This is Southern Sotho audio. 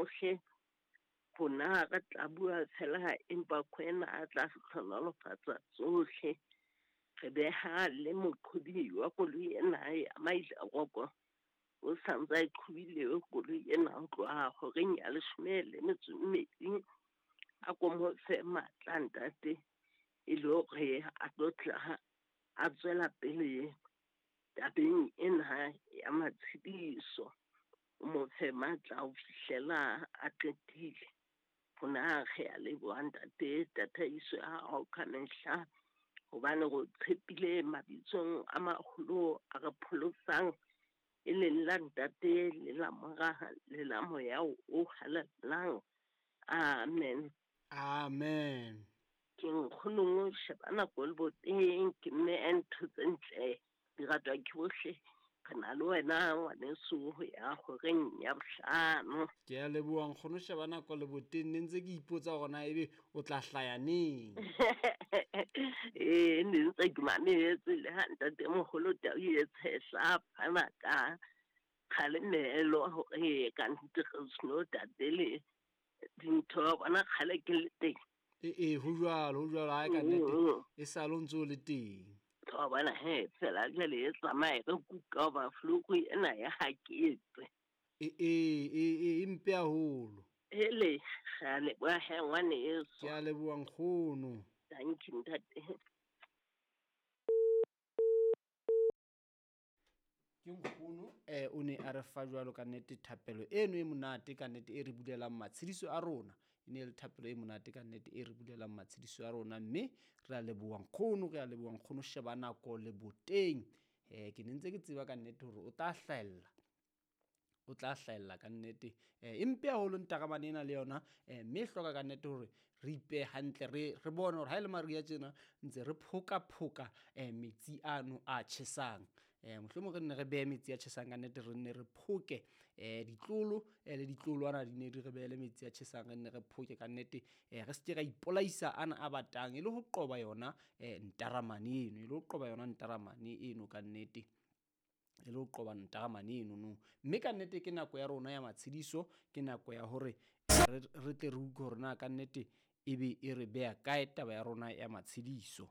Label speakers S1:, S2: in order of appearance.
S1: tsohle. Rona re tla bua fela empa ke wena a tla hlohonolofatsa tsohle. Re beha le moqhobi wa koloi ena ya Mailaroko, o sa ntse a e qhobile koloi ena ho tloha horeng ya 12. A ko mo fe matla ntate, e le hore a tlo tla a tswela pele tabeng ena ya matshediso. O mo fe matla ho fihlela a qetile. Rona re a leboha ntate tataiso ya hao ka mehla, hobane re o tshepile mabitsong a maholo a re pholosang, e leng la ntate le la mora le la moya o halalelang. Amen.
S2: Amen.
S1: Ke nkgono sheba nako le boteng, ke mme ntho tse ntle di ratwa ke bohle. Re na le wena ngwaneso ho ya horeng ya 5.
S2: Ke a leboha nkgono sheba nako le boteng, ne ntse ke ipotsa hore na ebe o tla hlaya neng.
S1: Ee, ne ntse ke mametse le ha ntate moholo Tau e tshehla fana ka kgalemelo hore ka nnete re seno tatele dintho, bona kgale ke le teng.
S2: Ee, ho jwalo, ho jwalo, ha ka nnete e sale o ntse o le teng.
S1: Wa bona he, fela jwale e tsamaye re kuka hoba fluku ena ya haketse.
S2: Ee, e mpe haholo.
S1: Hele, re a leboha he ngwaneso.
S2: Ke a leboha nkgono.
S1: Thank you ntate.
S2: Ke nkgono o ne a re fa jwalo ka nnete thapelo eno e monate ka nnete e re bulelang matshediso a rona. E ne le thapelo e monate ka nnete e re bulelang matshediso a rona, mme re a leboha nkgono, re a leboha nkgono sheba nako le boteng. Ke ne ntse ke tseba ka nnete hore o tla hlahella, o tla hlahella ka nnete. E mpe haholo ntaramane ena le yona, mme e hloka ka nnete hore re ipehe hantle, re bone hore ha e le mariha tjena ntse re phoka-phoka metsi ano a tjhesang. Mohlomong re nne re behe metsi a tjhesang ka nnete, re nne re phoke ditlolo le ditlolwana di ne di re behele metsi a tjhesang, re nne re phoke ka nnete, re se ke ra ipolaisa ana a batang, e le ho qoba yona ntaramane eno, e le ho qoba yona ntaramane eno ka nnete, e le ho qoba ntaramane eno no. Mme ka nnete ke nako ya rona ya matshediso, ke nako ya hore re tle re utlwe hore na ka nnete ebe e re beha kae taba ya rona ya matshediso.